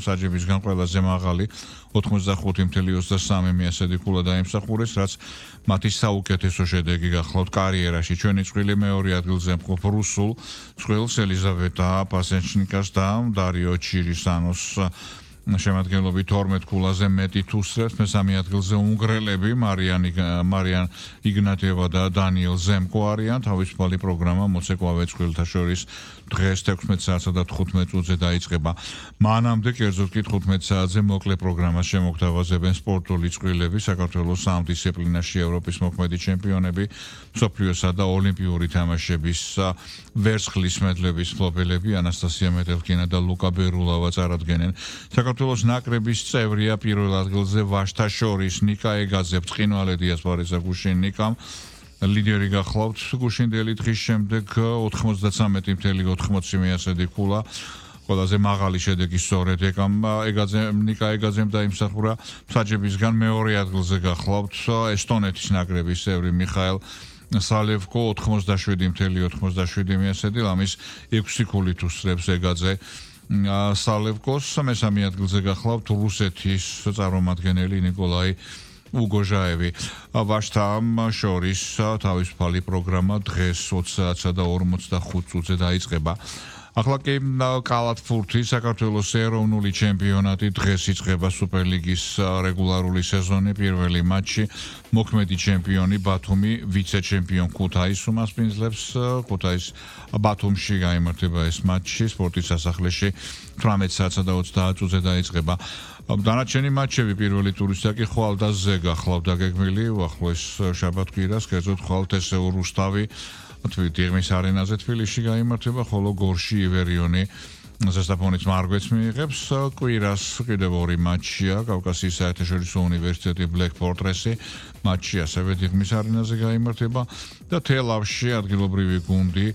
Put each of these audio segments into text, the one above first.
საჯებისგან ყველაზე მაღალი 85.23 მიასედი ქულა დაიმსახურეს, რაც მათი საუკეთესო შედეგი გახლავთ კარიერაში. ჩვენი წვრილი მეორე ადგილზე მყოფ რუსულ წყვილს ელიზავეტა პასენჩნიკას და დარიო ჩირისანოს შემადგენლობით 12 ქულაზე მეტი თუსრებს, მესამე ადგილზე უნგრელები მარიან იგნატიევა და დანიელ ზემკო არიან. თავისუფალი პროგრამა მოცეკვავე წყვილთა შორის დღეს 16 საათსა და 15 წუთზე დაიწყება. მანამდე კერძოდ კი 15 საათზე მოკლე პროგრამას შემოგთავაზებენ სპორტული წყვილები, საქართველოს სამ დისციპლინაში ევროპის მოქმედი ჩემპიონები, მსოფლიოსა და ოლიმპიური თამაშების ვერცხლის მედლების მფლობელები ანასტასია მეტელკინა და ლუკა ბერულავა წარადგენენ. საქართველოს ნაკრების წევრია პირველ ადგილზე ვაშთა შორის ნიკა ეგაძე, ბრწყინვალე ასპარეზა გუშინ ნიკამ ლიდერი გახლავთ გუშინდელი დღის შემდეგ 93.80 მიასედი ქულა. ყველაზე მაღალი შედეგი სწორედ ნიკა ეგაძემ დაიმსახურა. საჯებისგან მეორე ადგილზე გახლავთ ესტონეთის ნაკრების წევრი მიხაელ სალევკო 87.87 მიასედი, ამის 6 ქულით უსწრებს ეგაძე სალევკოს. მესამე ადგილზე გახლავთ რუსეთის წარმომადგენელი ნიკოლაი უგოჟაევი. ვაშთა შორის თავისუფალი პროგრამა დღეს 20 საათსა და 45 წუთზე დაიწყება. ახლა კი კალათბურთი საქართველოს ეროვნული ჩემპიონატი დღეს იწყება სუპერლიგის რეგულარული სეზონი. პირველი მატჩი მოქმედი ჩემპიონი ბათუმი ვიცე-ჩემპიონ ქუთაისს უმასპინძლებს. ქუთაის ბათუმში გაიმართება ეს მატჩი სპორტის სასახლეში 18 საათსა და 30 წუთზე დაიწყება. დანარჩენი მატჩები პირველი ტურისაკი ხვალდაზე გახლავთ დაგეგმილი უახლოეს შაბათ-კვირას, კერძოდ ხვალთესეულ რუსთავი თბილისის არენაზე თბილისში გაიმართება, ხოლო გორში ივერიონი ზესტაფონის მარგვეც მიიღებს. კვირას კიდევ ორი მატჩია, კავკასიის საერთაშორისო უნივერსიტეტი Black Fortress-ი მატჩი ასევე თბილისის არენაზე გაიმართება და თელავში ადგილობრივი გუნდი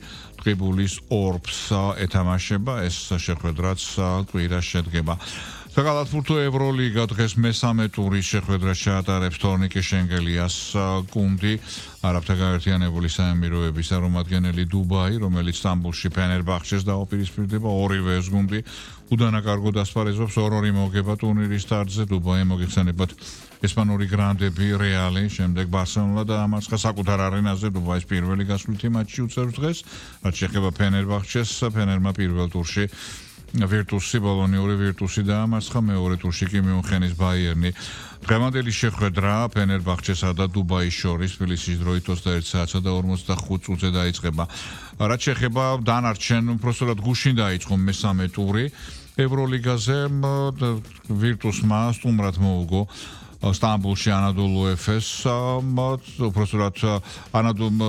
ტყიბულის ორბს ეთამაშება. ეს შეხვედრაც კვირას შედგება. საკალათბურთო ევროლიგა დღეს მესამე ტურის შეხვედრას ჩაატარებს თორნიკე შენგელიას გუნდი არაბთა გაერთიანებული საემიროების წარმომადგენელი დუბაი, რომელიც სტამბულში ფენერბახჩეს დაუპირისპირდება. ორივე ეს გუნდი უდანაკარგოდ ასპარეზობს 2-2 მოგება ტურნირის სტარტზე. დუბაი მოგეხსენებათ ესპანური გრანდები რეალი, შემდეგ ბარსელონა და ამარცხა საკუთარ არენაზე დუბაის პირველი გასვლითი მატჩი უწევს დღეს. რაც შეეხება ფენერბახჩეს, ფენერმა პირველ ტურში ვირტუსი ბოლონიური ვირტუსი დაამარცხა, მეორე ტურში კი მიუნხენის ბაიერნი. დღევანდელი შეხვედრა ფენერბახჩესა და დუბაის შორის თბილისის დროით 21 საათსა და 45 წუთზე დაიწყება. რაც შეეხება დანარჩენ, უბრალოდ გუშინ დაიწყო მესამე ტური ევროლიგაზე. ვირტუსმა სტუმრად მოუგო სტამბულში ანადოლუ ეფეს, უბრალოდ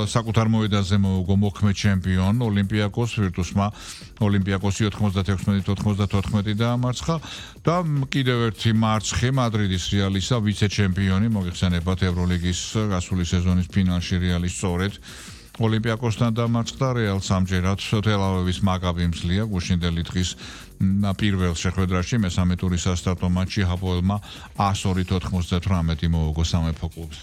საკუთარ მოედანზე მოუგო მოქმედ ჩემპიონ ოლიმპიაკოს. ვირტუსმა ოლიმპიაკოსი 96-94 დაამარცხა და კიდევ ერთი მარცხი მადრიდის რეალისა ვიცე-ჩემპიონი, მოგეხსენებათ ევროლიგის გასული სეზონის ფინალში რეალი სწორედ ოლიმპიაკოსთან დამარცხდა. რეალს ამჯერად თელ-ავივის მაკაბი მსლია გუშინდელი დღის პირველ შეხვედრაში მესამე ტურის სასტარტო მატჩი ჰაპოელმა 102-98 მოუგო სამეფო კლუბს.